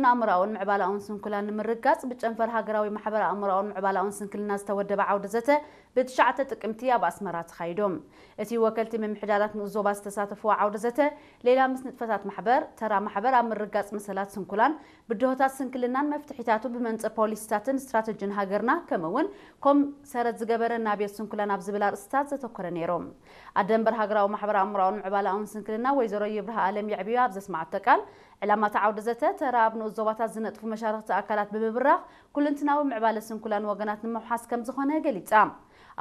ኣእምሮኣውን ምዕባላውን ስንኩላን ንምርጋጽ ብጨንፈር ሃገራዊ ማሕበር ኣእምሮኣውን ምዕባላውን ስንክልና ዝተወደበ ዓውደ ዘተ ብትሽዓተ ጥቅምቲ ኣብ ኣስመራ ተኻይዱ። እቲ ወከልቲ ምምሕዳራት ንኡስ ዞባ ዝተሳተፍዎ ዓውደ ዘተ፣ ሌላ ምስ ንጥፈታት ማሕበር፣ ተራ ማሕበር ኣብ ምርጋጽ መሰላት ስንኩላን፣ ብድሆታት ስንክልናን መፍትሒታቱ ብመንጽር ፖሊሲታትን ስትራተጂን ሃገርና፣ ከምኡ እውን ኮም ሰረት ዝገበረ ናብየት ስንኩላን ኣብ ዝብል ኣርእስታት ዘተኮረ ነይሩ። ኣደ መንበር ሃገራዊ ማሕበር ኣእምሮኣውን ምዕባላውን ስንክልና ወይዘሮ ይብርሃ ኣለም የዕብዮ ኣብ ዘስማዓቶ ቃል፣ ዕላማ እቲ ዓውደ ዘተ ተራ ኣብ ንኡስ ዞባታት ዝነጥፉ መሻርኽቲ ኣካላት ብምብራኽ ኩልንትናዊ ምዕባለ ስንኩላን ወገናት ንምውሓስ ከም ዝኾነ ገሊጻ።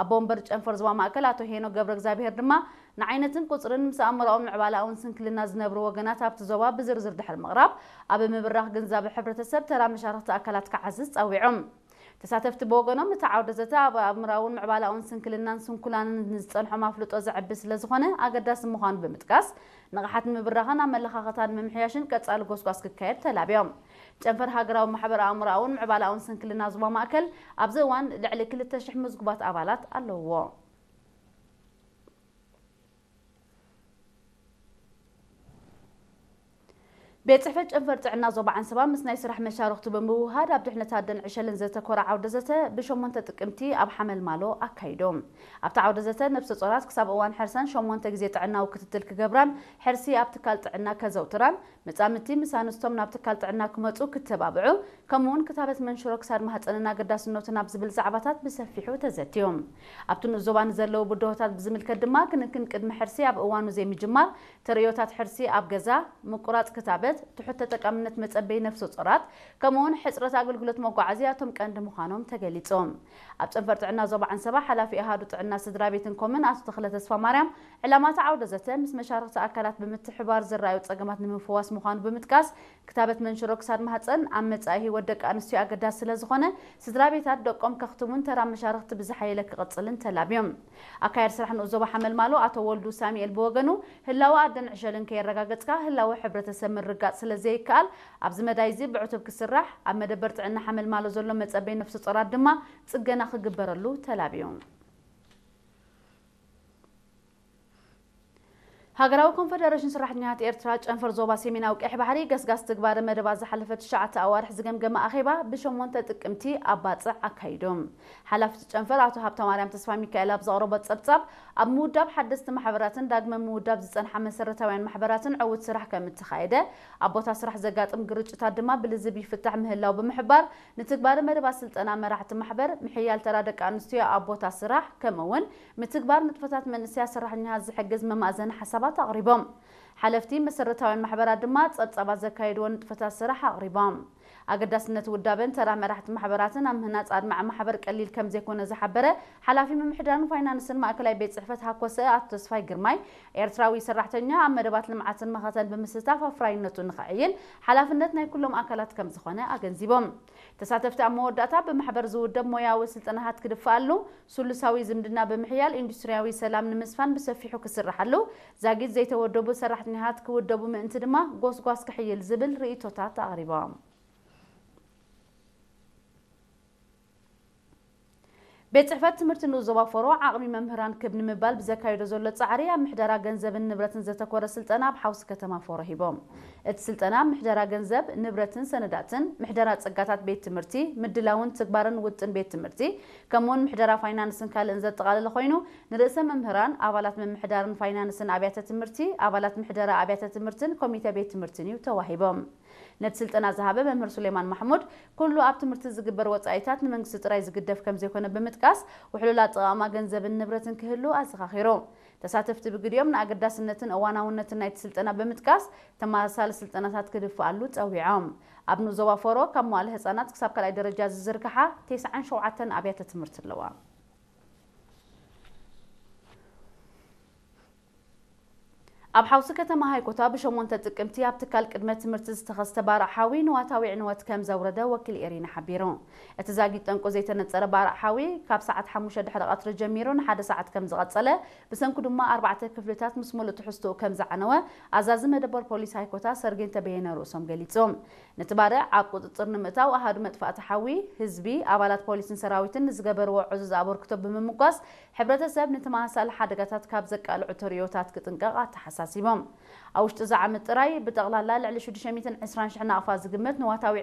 ኣቦ መንበር ጨንፈር ዞባ ማእከል ኣቶ ሄኖክ ገብረ እግዚኣብሔር ድማ ንዓይነትን ቁጽርን ምስ ኣእምሮኣውን ምዕባላኣውን ስንክልና ዝነብሩ ወገናት ኣብቲ ዞባ ብዝርዝር ድሕሪ ምቕራብ፣ ኣብ ምብራኽ ግንዛበ ሕብረተሰብ ተራ መሻርኽቲ ኣካላት ክዓዝዝ ጸዊዖም። ተሳተፍቲ ብወገኖም፣ እቲ ዓውደ ዘተ ኣብ ኣእምሮኣውን ምዕባላኣውን ስንክልናን ስንኩላንን ንዝጸንሖም ኣፍልጦ ዘዕቢ ስለ ዝኾነ ኣገዳሲ ምዃኑ ብምጥቃስ፣ ንቕሓት ንምብራኽን ኣመለኻኽታ ንምምሕያሽን ቀጻሊ ጎስጓስ ክካየድ ተላብዮም። ጨንፈር ሃገራዊ ማሕበር ኣእምሮኣውን ምዕባላኣውን ስንክልና ዞባ ማእከል ኣብዚ እዋን ልዕሊ ክልተ ሽሕ ምዝጉባት ኣባላት ኣለውዎ። ቤት ጽሕፈት ጨንፈር ጥዕና ዞባ ዓንሰባ ምስ ናይ ስራሕ መሻርኽቱ ብምውህሃድ ኣብ ድሕነት ኣደን ዕሸልን ዘተኮረ ዓውደ ዘተ ብሸሞንተ ጥቅምቲ ኣብ ሓመልማሎ ኣካይዶም። ኣብቲ ዓውደ ዘተ ነብሰ ጾራት ክሳብ እዋን ሕርሰን ሸሞንተ ግዜ ጥዕናዊ ክትትል ክገብራን ሕርሲ ኣብ ትካል ጥዕና ከዘውትራን፣ መጻምድቲ ምስ ኣንስቶም ናብ ትካል ጥዕና ክመጹ ክተባብዑ፣ ከምኡውን ክታበት መንሽሮ ክሳድ ማህጸንን ኣገዳስነቱን ኣብ ዝብል ዛዕባታት ብሰፊሑ ተዘትዩ። ኣብቲ ንኡስ ዞባ ንዘለዉ ብድሆታት ብዝምልከት ድማ ክንክን ቅድሚ ሕርሲ ኣብ እዋኑ ዘይምጅማር፣ ተርእዮታት ሕርሲ ኣብ ገዛ፣ ምቁራጽ ክታበት፣ ትሑት ተጠቃምነት መጸበይ ነፍሰ ጾራት፣ ከምኡውን ሕጽረት ኣገልግሎት መጓዓዝያ እቶም ቀንዲ ምዃኖም ተገሊጹ። ኣብ ጨንፈር ጥዕና ዞባ ዓንሰባ ሓላፊ ኣሃዱ ጥዕና ስድራ ቤትን ኮምን ኣቶ ተኽለ ተስፋ ማርያም፣ ዕላማ እቲ ዓውደ ዘተ ምስ መሻርኽቲ ኣካላት ብምትሕባር ዝረኣዩ ጸገማት ንምፍዋስ ምዃኑ ብምጥቃስ፣ ክታበት መንሽሮ ክሳድ ማህጸን ኣብ መጻኢ ህይወት ደቂ ኣንስትዮ ኣገዳሲ ስለ ዝኾነ፣ ስድራ ቤታት ደቆም ከኽትሙን ተራ መሻርኽቲ ብዝሓየለ ክቕጽልን ተላብዮም። ኣካያዲ ስራሕ ንኡስ ዞባ ሓመልማሎ ኣቶ ወልዱ ሳሙኤል ብወገኑ፣ ህላወ ኣደን ዕሸልን ከየረጋገጽካ ህላወ ሕብረተሰብ ምርጋጽ ስለ ዘይከኣል፣ ኣብዚ መዳይ እዚ ብዕቱብ ክስራሕ፣ ኣብ መደበር ጥዕና ሓመልማሎ ዘሎ መጸበይ ነፍሰ ጾራት ድማ ጽገና ክግበረሉ ተላብዩ። ሃገራዊ ኮንፈደሬሽን ሰራሕተኛታት ኤርትራ ጨንፈር ዞባ ሰሜናዊ ቀይሕ ባሕሪ ገስጋስ ትግባረ መደባት ዝሓለፈ ትሽዓተ ኣዋርሕ ዝገምገመ ኣኼባ ብሸሞንተ ጥቅምቲ ኣብ ባጽዕ ኣካይዶም። ሓላፊ እቲ ጨንፈር ኣቶ ሃብተማርያም ተስፋ ሚካኤል ኣብ ዘቕረቦ ጸብጻብ፣ ኣብ ምውዳብ ሓደስቲ ማሕበራትን ዳግመ ምውዳብ ዝጸንሓ መሰረታውያን ማሕበራትን ዕዉት ስራሕ ከም እተኻየደ፣ ኣብ ቦታ ስራሕ ዘጋጥም ግርጭታት ድማ ብልዝብ ይፍታሕ ምህላው ብምሕባር፣ ንትግባረ መደባት ስልጠና መራሕቲ ማሕበር፣ ምሕያል ተራ ደቂ ኣንስትዮ ኣብ ቦታ ስራሕ፣ ከምኡ እውን ምትግባር ንጥፈታት መንእሰያት ሰራሕተኛታት ዝሕግዝ መማእዘኒ ሓሳባት ኣቕሪቦም። ሓለፍቲ መሰረታውያን ማሕበራት ድማ ጸብጻባት ዘካየድዎ ንጥፈታት ስራሕ ኣቕሪቦም። ኣገዳስነት ውዳበን ተራ መራሕቲ ማሕበራትን ኣብ ምህናጽ ኣድማዒ ማሕበር ቀሊል ከም ዘይኮነ ዝሓበረ ሓላፊ ምምሕዳርን ፋይናንስን ማእከላይ ቤት ጽሕፈት ሃኮሰ ኣቶ ተስፋይ ግርማይ፣ ኤርትራዊ ሰራሕተኛ ኣብ መደባት ልምዓትን መኸተን ብምስታፍ ኣፍራይነቱ ንኸዕይል ሓላፍነት ናይ ኩሎም ኣካላት ከም ዝኾነ ኣገንዚቦም። ተሳተፍቲ ኣብ መወዳእታ ብማሕበር ዝውደብ ሞያዊ ስልጠናታት ክድፍኣሉ፣ ስሉሳዊ ዝምድና ብምሕያል ኢንዱስትሪያዊ ሰላም ንምስፋን ብሰፊሑ ክስርሓሉ፣ ዛጊት ዘይተወደቡ ሰራሕተኛታት ክውደቡ ምእንቲ ድማ ጎስጓስ ክሕይል ዝብል ርእይቶታት ኣቕሪቦም። ቤት ጽሕፈት ትምህርቲ ንኡስ ዞባ ፎሮ ዓቕሚ መምህራን ክብ ንምባል ብዘካየዶ ዘሎ ጻዕሪ ኣብ ምሕደራ ገንዘብን ንብረትን ዘተኮረ ስልጠና ኣብ ሓውሲ ከተማ ፎሮ ሂቦም። እቲ ስልጠና ምሕደራ ገንዘብ፣ ንብረትን ሰነዳትን፣ ምሕደራ ጸጋታት ቤት ትምህርቲ፣ ምድላውን ትግባርን ውጥን ቤት ትምህርቲ፣ ከምኡውን ምሕደራ ፋይናንስን ካልእን ዘጠቓለለ ኮይኑ፣ ንርእሰ መምህራን፣ ኣባላት ምምሕዳርን ፋይናንስን ኣብያተ ትምህርቲ፣ ኣባላት ምሕደራ ኣብያተ ትምህርትን ኮሚተ ቤት ትምህርትን እዩ ተዋሂቦም። ነቲ ስልጠና ዝሃበ መምህር ሱሌማን ማሕሙድ፣ ኩሉ ኣብ ትምህርቲ ዝግበር ወጻኢታት ንመንግስቲ ጥራይ ዝግደፍ ከም ዘይኮነ ብምጥቃስ፣ ውሕሉል ኣጠቓቕማ ገንዘብን ንብረትን ክህሉ ኣዘኻኺሩ። ተሳተፍቲ ብግዲኦም ንኣገዳስነትን እዋናውነትን ናይቲ ስልጠና ብምጥቃስ፣ ተመሳሳሊ ስልጠናታት ክድፍኣሉ ጸዊዖም። ኣብ ንኡስ ዞባ ፎሮ ካብ መዋእለ ህጻናት ክሳብ ካልኣይ ደረጃ ዝዝርግሓ ተስዓን ሸውዓተን ኣብያተ ትምህርቲ ኣለዋ። ኣብ ሓውሲ ከተማ ሃይኮታ ብሸሞንተ ጥቅምቲ ኣብ ትካል ቅድመ ትምህርቲ ዝተኸስተ ባርዕ ሓዊ ንዋታዊ ዕንወት ከም ዘውረደ ወኪል ኤሪና ሓቢሩ። እቲ ዛጊት ጠንቁ ዘይተነጸረ ባርዕ ሓዊ ካብ ሰዓት ሓሙሽተ ድሕሪ ቀትሪ ጀሚሩ ንሓደ ሰዓት ከም ዝቐጸለ፣ ብሰንኩ ድማ ኣርባዕተ ክፍልታት ምስ ሙሉእ ትሕዝትኡ ከም ዝዓነወ ኣዛዚ መደበር ፖሊስ ሃይኮታ ሰርጌን ተበየነ ርእሶም ገሊጹ። ነቲ ባርዕ ኣብ ቁጽጽር ንምእታው ኣሃዱ መጥፋእቲ ሓዊ፣ ህዝቢ፣ ኣባላት ፖሊስን ሰራዊትን ንዝገበርዎ ዕዙዝ ኣበርክቶ ብምምጓስ፣ ሕብረተሰብ ንተመሳሳሊ ሓደጋታት ካብ ዘቃልዑ ተርእዮታት ክጥንቀቕ ኣተሓሳሲቡ። ኣሲቦም። ኣብ ውሽጢ እዚ ዓመት ጥራይ ብጠቕላላ ልዕሊ ሽዱሽተ ሚእትን ዕስራን ሽሕ ናቕፋ ዝግመት ንዋታዊ